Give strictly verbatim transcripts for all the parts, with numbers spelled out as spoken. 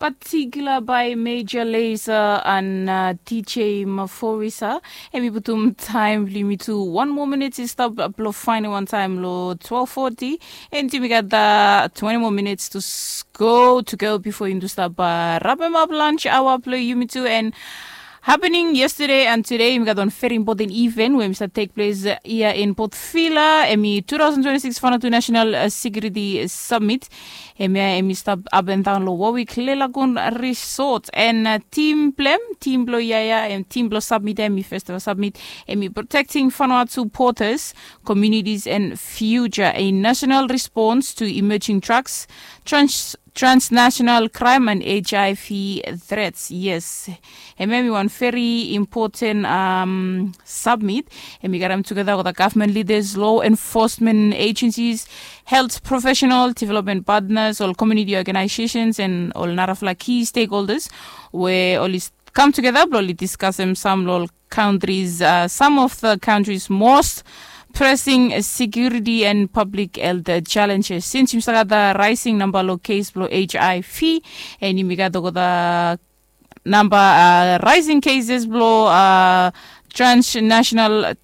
Patikula bae Major Lazer an Dj Maforisa. Em i putum taem blong yumi tu wan moa minit i stap blong faenem wan taem long twelve forty. And yumi gat twenti moa minit tu go tu go bifo yumi tu stap rapem ap lunch aoa blong yumi tu. And happening yesterday and today, yumi gat wan very important event we yumi stap tek ples ia in Port Vila. Em i two thousand twenty-six Vanuatu National Security Summit. Hemia em i stap apendaon long Warwick Lelagoon Resort. And tim blong em, tim blong ia ia, em tim blong submit ia, em i festival submit. Em i protecting Vanuatu borders, communities and future, a national response to emerging drugs, trans transnational crime and H I V threats. Yes. Hemia em i wan very important submit. Em i karem tugeta olgeta gavman lidas, law enforcement agencies, health professional, development partners, ol community organizations and ol narafala key stakeholders we oli kam tugeta blong oli diskasem sam long ol countries, some of the countries most pressing security and public health challenges. Since yumi save gat the rising namba long case blong H I V, and yumi gat olgeta namba rising cases blong transnational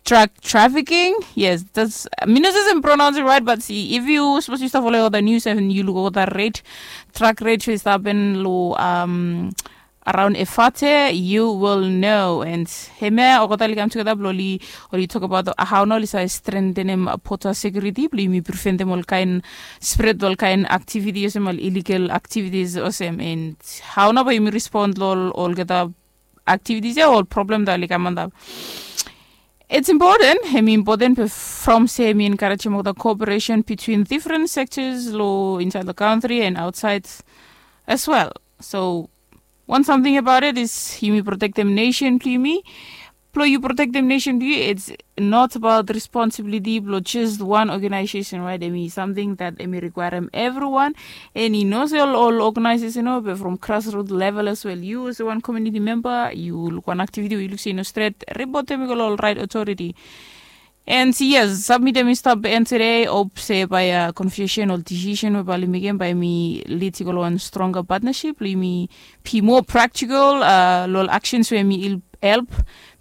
drug trafficking. Yes, that's, mi no sure se mi pronounce it right, but see, if yu suppose yu stap follow olgeta news and yu luk olgeta rate, drug rate we i stap hapen long around Efate, you will know. And hemia olgeta oli kam tugeta blong oli, oli tokbaot hao nao oli save strengthenem border security blong yumi preventem ol kaen spread ol kaen activity olsem ol illegal activities olsem. And hao nao bae yumi respond long olgeta activities ia, ol problem that oli kam antap. It's important, hemi important from se hemi encouragem olgeta cooperation between different sectors long inside the country and outside as well. So one something about it is yumi protectem nation blong yumi. Blong yu protectem nation blong yu, it's not about responsibility blong just one organization, right? Hemi something that hemi requirem everyone. And i no se ol organization o, be from grassroot level as well. Yu olsem wan community member, yu luk wan activity we yu luk se i no stret, ripotem i go long ol right authority. And yes, submit hemi stap en today. Hope se bae confusion o decision we bae oli mekem bae hemi lead i go long wan stronger partnership blong yumi be more practical long ol actions we hemi help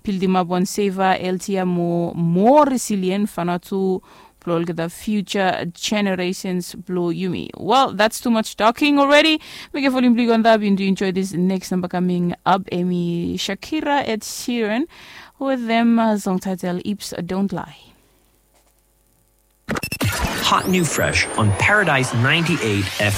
buildimap wan safer, healthier, more, more resilient Vanuatu blong olgeta future generations blong yumi. Well, that's too much talking already. Mekem volume blong yu go antap. Yu enjoy this next number coming up. Hemi Shakira, Ed Sheeran with them song title Hips Don't Lie. Hot new fresh on Paradise ninety-eight F M.